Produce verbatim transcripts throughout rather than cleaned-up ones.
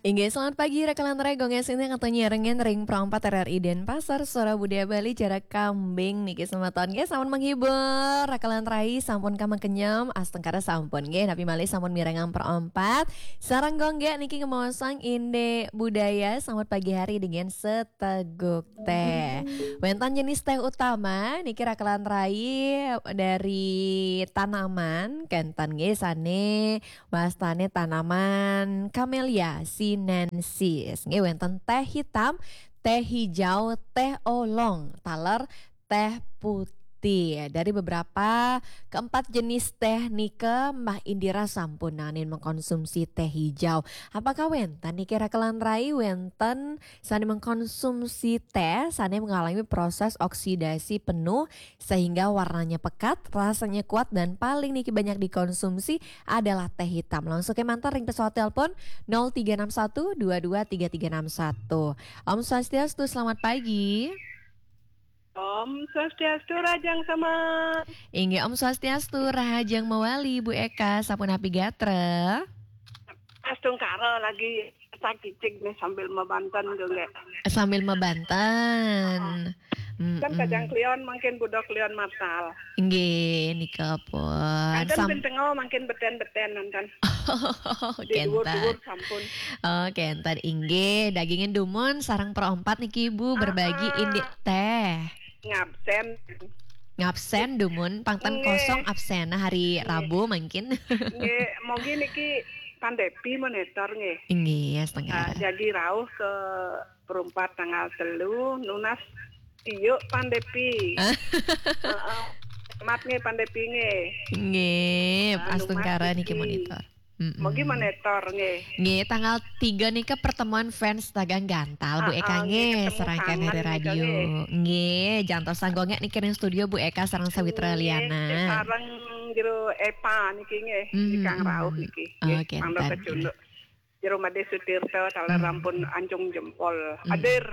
Inggih, selamat pagi, Rakalan Rai, Gong Esin yang katanya rengen ring Pro empat R R I Denpasar, Suara Budaya Bali, Jarak Kambing, niki semeton. Nggih, sampun menghibur, Rakalan Rai, sampun kamang kenyem, astungkara sampun, nggih, napi malih sampun mirengang Pro empat. Sareng Gong nggih niki ngemaosang indik budaya, selamat pagi hari dengan seteguk teh. Wénten jenis teh utama, niki Rakalan Rai dari tanaman, kénten nggih sane wastane tanaman Camellia sinensis. Nggih wénten teh hitam, teh hijau, teh oolong, taler teh putih. Dari beberapa keempat jenis teh nika Mbah Indira sampun nanin mengkonsumsi teh hijau. Apakah wénten niki Rakalan Rai wénten sane mengkonsumsi teh, sane mengalami proses oksidasi penuh sehingga warnanya pekat, rasanya kuat, dan paling niki banyak dikonsumsi adalah teh hitam. Langsung ke mantar ring pesawat telepon nol tiga enam satu dua dua tiga tiga enam satu. Om Swastiastu, selamat pagi. Om Swastiastu, Rahajeng Sama. Inggih, Om Swastiastu, Rahajeng Mawali, Bu Eka, sapunapi gatra? Astungkara lagi sakicik nih sambil mabanten, nggih. Sambil mabanten. Kan kajang klion mangkin buda klion matal. Nggih, nika pun. Kanten Sam- ping tenga mangkin beten-beten nonton. Oh, di dhuwur-dhuwur sampun. Oh, kenten. Inggih, dagingin dumun sareng Pro empat niki, Bu, berbagi indik teh. Ngabsen. Ngabsen dumun, pangten kosong absen. Nah, hari Rabu mungkin. Nggih, mogi niki Pandepi monitor nggih. Inggih, ya setengah. Ah, jadi rauh ke Pro empat tanggal telu, nunas tiuk Pandepi. Heeh. Mat nggih Pandepi nggih. Nggih, ah, astungkara niki monitor. Mm-mm. Mogi monitor nggih. Nggih, tanggal tiga nika pertemuan fans Tagang Gantal, Bu Eka, nggih, serangkaian hari radio. Nggih, jantos sanggongnya niki ring studio Bu Eka sareng Sawitra Liana. Sareng Jero Epa niki nggih, mm-hmm, di Kang Rauh niki. Nggih, oke, mangda kecunduk. Jero Made Sutirta, taler rampun anjung jempol. Hadir.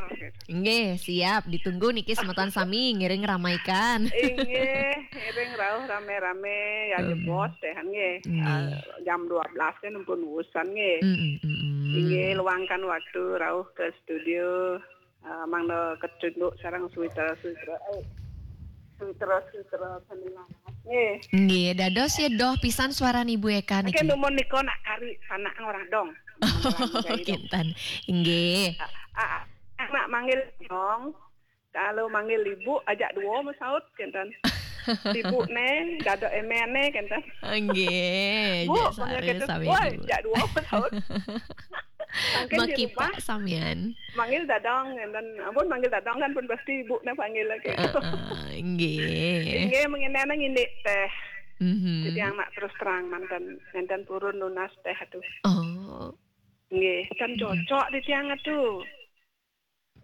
Nggih, siap. Ditunggu niki semeton sami ngiring ramaikan. Inggih, ngiring rauh rame-rame ya jebos teh nggih. Nggih. Ah, jam dua belas kan pun wusan nggih. Mm, mm, mm. Inggih, luangkan waktu rauh ke studio. Ah, mangda kecunduk sareng Sawitra, Sawitra. Eh, Sawitra, Sawitra sami lawas. Nggih. Nggih, dados ya doh pisan suaran Ibu Eka niki. Mungkin dumun nika nak kari sanak ngorang dong. Oh, kinten. Inggih. Ah, ah, ah, nak manggil dong. Kalau manggil ibu, ajak dua masaut, kinten. Ibu ne, dada emen ne, kinten. Nggih, Bu, ajak sare sami woi, ibu. Ajak dua masaut. Mungkin di rumah samian. Manggil dadang, kinten. Ampun, manggil dadang kan pun pasti ibu ne panggil lagi. Heeh, nggih. Nggih, mengenai nang indik teh. Mhm. Jadi yang nak terus terang mantan, mantan purun nunas teh atuh. Oh. Nggih, kan cocok di tiang atuh.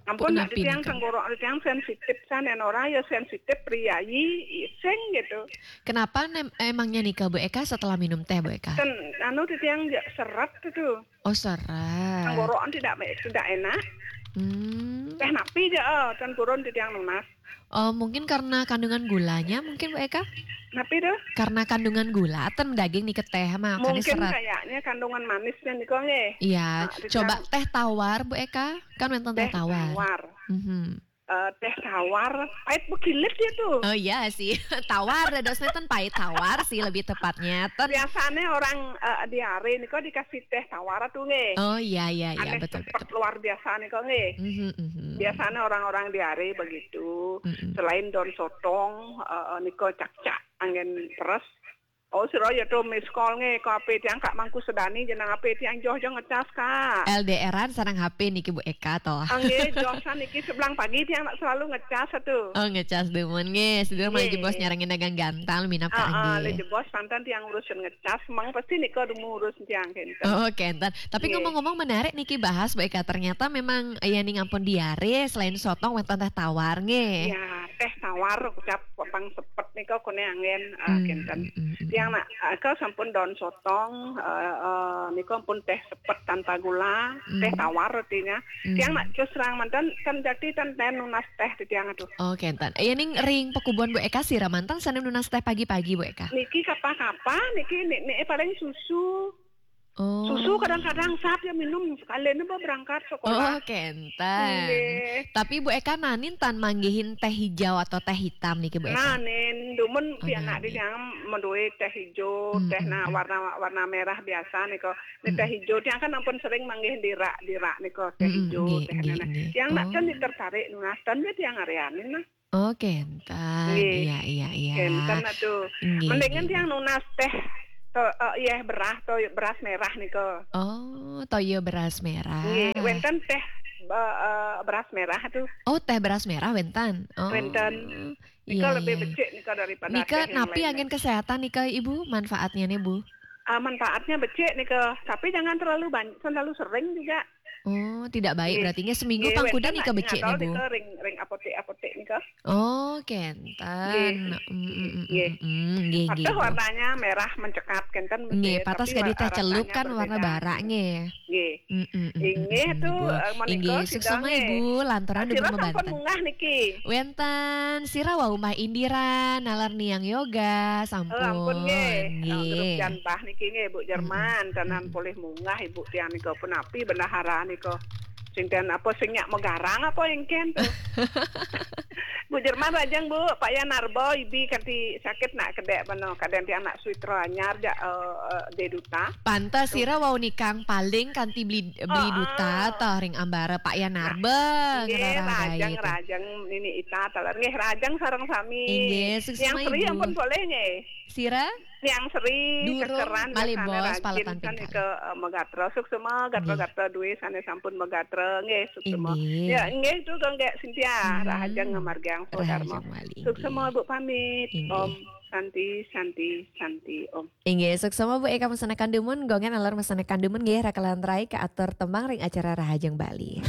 Ampun, nak di tiang tenggorok, di tiang sensitif, san, yang orang ya sensitif, priayi, iseng gitu. Kenapa nem-, emangnya nika, Bu Eka, setelah minum teh, Bu Eka? Ten, anu, di tiang ya seret itu. Oh, seret. Tenggorokan tidak, tidak enak. Hmm. Teh napi aja, oh, ten purun di tiang nunas. Oh, mungkin karena kandungan gulanya mungkin, Bu Eka? Napi tuh? Karena kandungan gula, ten daging nih ke teh mah, makanya seret. Mungkin kayaknya kandungan manisnya nih kok, nggih. Iya, nah, coba teh tawar, Bu Eka. Kan wénten teh tawar. Teh tawar. Mhm. Eh, teh tawar, pahit bekilit ya tuh. Oh iya sih, tawar dadosnya ten pahit tawar sih lebih tepatnya. Ten biasanya orang, eh, diare nih kok dikasih teh tawar tuh nggih. Oh iya, iya, iya, betul, betul. Luar biasa nih kok nggih. Mhm, mhm. Biasanya orang-orang diare begitu. Mhm. Selain daun sotong, eh, nih kok cakcak angin peres. Oh, sira ya tuh miss call nggih, ke H P tiang Kak Mangku Sedani, jeneng H P tiang joh-joh ngecas, Kak. L D R-an sareng H P niki Bu Eka toh. Ah, nggih, joh san niki sebelang pagi tiang nak selalu ngecas tuh. Oh, ngecas dumun nggih. Sedulur malih jebos nyarengin dagang gantal minab ka nggih. Ah, ah, le jebos santan tiang urusan ngecas, mang pasti nika dumun urus tiang kinten. Oh, kinten. Tapi ngomong-ngomong menarik niki bahas Bu Eka, ternyata memang ya ning ampun diare selain sotong wénten teh tawar nggih. Ya, teh tawar ucap pang sepet nika kone angin, ah, kinten. Tiang nak, ah, ke sampun daun sotong, eh, eh, nika pun teh sepet tanpa gula, teh tawar artinya. Tiang nak terus terang mantan kan jadi tan ten nunas teh di tiang aduh. Oh, kinten. Ya ning ring pekubuan Bu Eka sira mantan sane nunas teh pagi-pagi Bu Eka. Niki kapa-kapa, niki nek, nek paling susu. Oh. Susu kadang-kadang sap ya minum, sekalian apa berangkat sekolah. Oh, kenten. Nggih. Tapi Bu Eka nanin tan manggihin teh hijau atau teh hitam niki, Bu Eka? Nanin, dumun pianak di tiang madué teh hijau, teh na warna, warna merah biasa nika. Nih teh hijau, tiang kan ampun sering manggihin dirak, dirak nika teh hijau, teh nana. Tiang nak kan tertarik nunas tan ya tiang arianin nah. Oh, kenten. Nggih. Iya, iya, iya. Kenten atuh. Nggih, mendingan nggih, tiang nunas teh to, eh, iya, beras to, beras merah nika. Oh, toya beras merah. Nggih, wenten teh, eh, eh, beras merah tuh. Oh, teh beras merah wenten. Oh. Wenten. Nika lebih becik nika daripada nika teh yang napi lain. Angin kesehatan nika, Ibu, manfaatnya nih, Bu? Ah, manfaatnya becik nika, tapi jangan terlalu banyak, terlalu sering juga. Oh, tidak baik. Nggih. Berarti nggih, seminggu pang kuda wenten nika nak becik nih, Bu? Nika ring, ring apotek-apotek nika. Oh, kenten. Nggih. Mm, mm, mm, nggih, nggih, nggih. Warnanya merah mencekat kenten. Nggih, becik, patas tapi gadi teh celup kan warna bara nggih. Nggih. Mm, mm, mm, inggih mm, tuh, Bu. Eh, menika inggih, suksma, Ibu, lantaran sira sampun munggah niki. Wenten, sira wau Mbah Indira, nalar niang yoga, sampun. Oh, ampun nggih. Nggih. Grup jan Mbah niki nggih, Bu Jerman, tenan polih munggah Ibu tiang nika punapi bendahara nika. Sing ten apa sing nyak megarang apa engken tuh? Bu Jerman rajang, Bu, Pak Yan Narba, ibi kanti sakit nak kedek mano, kadang tiang nak suitra anyar jak, eh, eh, de duta. Pantes sira wau nikang paling kanti beli, beli duta toh ring ambara Pak Yan Narba. Nggih, rajang, rajang nini ita taler. Nggih, rajang sareng sami. Inggih, suksma, Ibu. Yang Sri ampun boleh nggih. Sira? Yang Sri durung kekeran malih bos rajin paletan sane pingkal. Ke, eh, megatra. Suksma gatra-gatra duwe sane sampun megatra. Nggih, suksma. Inggih. Ya, nggih, itu Gonggek Cynthia. Hmm. Rahajeng ngamargiang swadharma. Rahajeng malih, suksma, inggih. Bu, pamit. Inggih. Om Santi, Santi, Santi, Om. Inggih, suksma Bu Eka mesanakan dumun, Gonggek nalar mesanakan dumun nggih, rakalan rai kaatur tembang ring acara Rahajeng Bali.